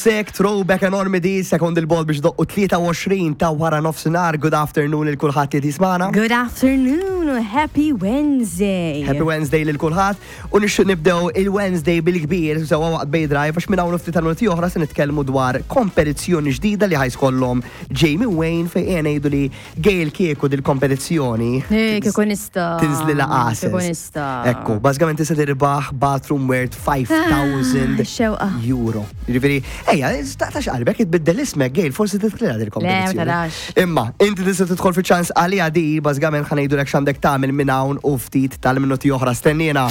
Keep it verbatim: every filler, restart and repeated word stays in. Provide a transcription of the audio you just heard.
Sek, throwback enormi di, sekond il-bol biex doqqu tlieta u għoxrin ta' wara nofsinhar. Good afternoon lil kulħadd li jismagħna. Good afternoon, happy Wednesday. Happy Wednesday lil kulħadd. U nixtieq nibdew il-Wednesday bil-kbir, sewwa waqt Bay Drive, għax minn hawn ftit tal-minuti oħra se nitkellmu dwar kompetizzjoni ġdida li ħa jkollhom Jamie Wayne, fejn ngħidu li Gail kieku dil-kompetizzjoni. Eh, kieku nista'. Tinżlilha qases. Kieku nista'. Ekku, bażikament tista' tirbaħ bathroom worth five thousand Ah, xewqa. euro. Jiġifieri, ejja, taqtax qalbek, itbiddel ismek, Gail, forsi tidħlilha dil-kompetizzjoni. Le, ma tarax. Imma, inti tista' tidħol fi ċans għalija di, bażikament ħa ngħidulek x'għandek tagħmel minn hawn u ftit tal-minuti oħra. Stennina.